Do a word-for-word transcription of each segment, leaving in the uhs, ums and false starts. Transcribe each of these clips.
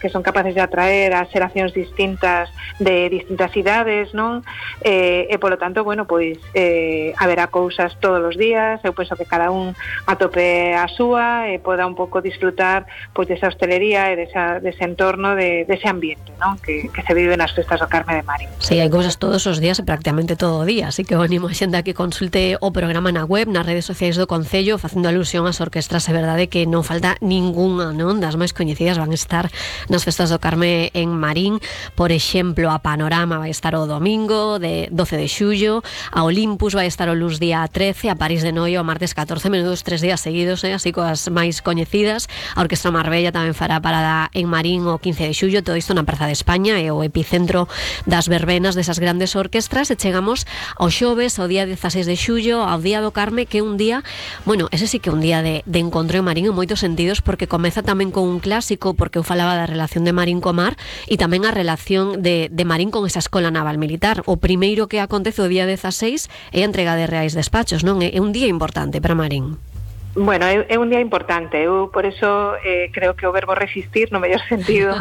que son capaces de atraer a xeracións distintas de distintas idades, non? Eh, e polo tanto, bueno, pois eh, haberá cousas todos os días. Eu penso que cada un atope a súa e poda un pouco disfrutar pois desa hostelería e desa, dese entorno, de, dese ambiente, non? Que, que se vive nas festas do Carme de Marín. Sí, hai cousas todos os días e prácticamente todo o día, así que o animo a xente a que consulte o programa na web, nas redes sociais do Concello, facendo alusión ás orquestras. É verdade que non falta ningunha, non? Das máis coñecidas van estar nas festas do Carme en Marín. Por exemplo, a Panorama vai estar o domingo de doce de xullo, a Olympus vai estar o luz día trece, a París de Noio o martes catorce, menudos tres días seguidos, eh? Así coas máis coñecidas. A Orquestra Marbella tamén fará parada en Marín o quince de xullo, todo isto na Praza de España, é o epicentro das verbenas desas grandes orquestras. E chegamos ao xoves, ao día dieciséis de xullo, ao Día do Carme, que é un día, bueno, ese sí que é un día de, de encontro en Marín en moitos sentidos, porque comeza tamén con un clásico, porque eu falaba da relación de Marín co mar, e tamén a relación de, de Marín con esa escola naval militar. O primeiro que acontece o día dieciséis é a entrega de reais despachos, non? É un día importante para Marín. Bueno, é, é un día importante. Eu por eso eh, creo que o verbo resistir no mellor sentido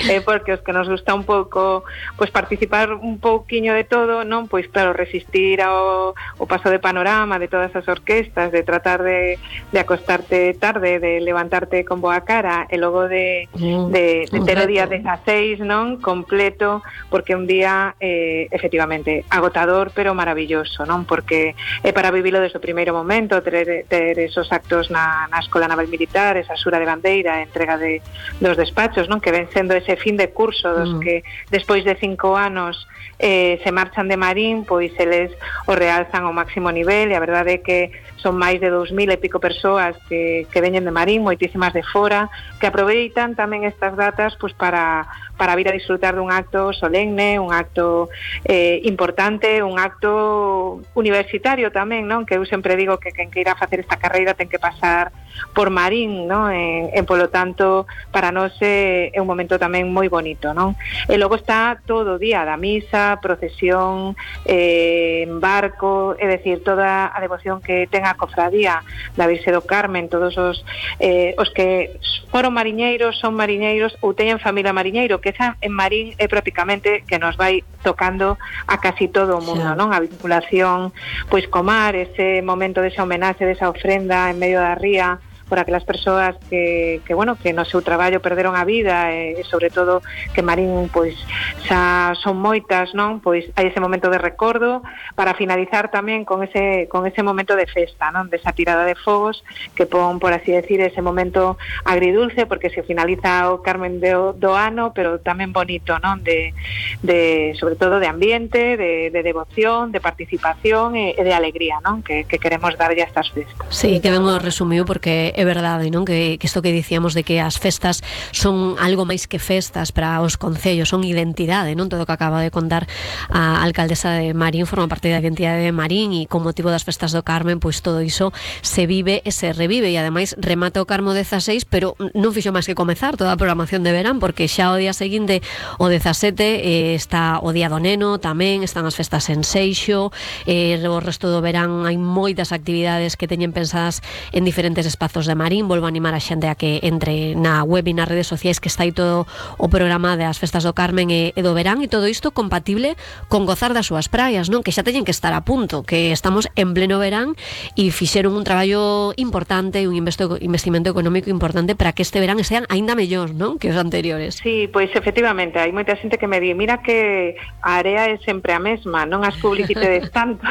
é eh, porque os que nos gusta un pouco pois participar un pouquiño de todo, non? Pois claro, resistir ao o paso de Panorama, de todas as orquestas, de tratar de, de acostarte tarde, de levantarte con boa cara e logo de, de, de ter o día dieciséis, non? Completo, porque un día eh, efectivamente agotador pero maravilloso, non? Porque é para vivilo desde o primeiro momento, ter, ter esos actos na, na Escola Naval Militar, esa xura de bandeira, a entrega de, dos despachos, non? Que ven sendo ese fin de curso dos mm. que despois de cinco anos eh, se marchan de Marín, pois eles o realzan ao máximo nivel, e a verdade é que son máis de dous mil e pico persoas que, que veñen de Marín, moitísimas de fora, que aproveitan tamén estas datas pois para para vir a disfrutar dun acto solemne, un acto eh, importante, un acto universitario tamén, non? Que eu sempre digo que quen queira facer esta carreira ten que pasar por Marín, non? E, e polo tanto, para nós é, é un momento tamén moi bonito, non? E logo está todo o día da misa, procesión, eh, barco, é dicir, toda a devoción que ten a cofradía da Virxe do Carmen, todos os, eh, os que foron mariñeiros, son mariñeiros ou teñen familia mariñeiro, que esa en Marín é prácticamente que nos vai tocando a casi todo o mundo, sí. Non? A vinculación pois co mar, ese momento desa homenaxe, desa ofrenda en medio da ría por aquelas persoas que, que bueno, que no seu traballo perderon a vida, e sobre todo que Marín pois xa son moitas, non? Pois hai ese momento de recordo para finalizar tamén con ese con ese momento de festa, non? Desa tirada de fogos que pon, por así decir, ese momento agridulce, porque se finaliza o Carmen do, do ano, pero tamén bonito, non? De, de sobre todo de ambiente, de, de devoción, de participación e, e de alegría, non? Que, que queremos darlle a estas festas. Sí, que ben o resumiu, porque é verdade, non? Que, que isto que dicíamos de que as festas son algo máis que festas para os concellos, son identidade, non? Todo o que acaba de contar a alcaldesa de Marín forma parte da identidade de Marín, e con motivo das festas do Carmen, pois todo iso se vive e se revive, e ademais remata o Carmo dieciséis, pero non fixo máis que comezar toda a programación de verán, porque xa o día seguinte, o dezasete, eh, está o Día do Neno, tamén están as festas en Seixo, eh, o resto do verán hai moitas actividades que teñen pensadas en diferentes espazos de Marín. Volvo a animar a xente a que entre na web e nas redes sociais, que está aí todo o programa das festas do Carmen e, e do verán, e todo isto compatible con gozar das súas praias, non? Que xa teñen que estar a punto, que estamos en pleno verán e fixeron un traballo importante, un investo, investimento económico importante para que este verán sean aínda mellor, non? Que os anteriores. Sí, pois efectivamente, hai moita xente que me di, mira que a area é sempre a mesma, non as publicitedes tanto.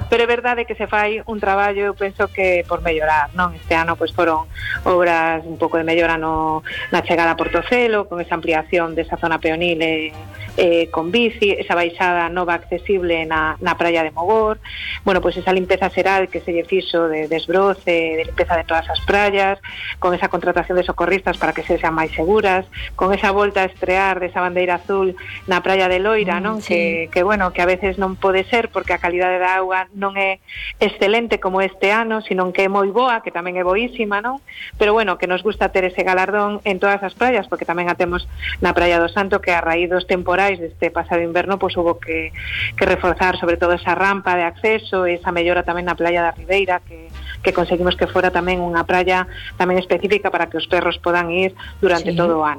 Pero é verdade que se fai un traballo, eu penso que por mellorar, non? Este ano pois foron obras un pouco de mellora no, na chegada a Portocelo, con esa ampliación desa zona peonil e, eh, con bici, esa baixada nova accesible na, na praia de Mogor, bueno, pois esa limpeza xeral que se lle fixo de desbroce, de limpeza de todas as praias, con esa contratación de socorristas para que se sean máis seguras, con esa volta a estrear desa bandeira azul na praia de Loira, non? Sí. Que, que bueno, que a veces non pode ser porque a calidade da auga non é excelente como este ano, sino que é moi boa, que tamén é boísima, non? Pero bueno, que nos gusta ter ese galardón en todas as praias, porque tamén a temos na Praia do Santo, que a raíz dos temporais deste pasado inverno, pois hubo que, que reforzar sobre todo esa rampa de acceso, esa mellora tamén na Praia da Ribeira, que, que conseguimos que fora tamén unha praia tamén específica para que os perros podan ir durante sí. todo o ano.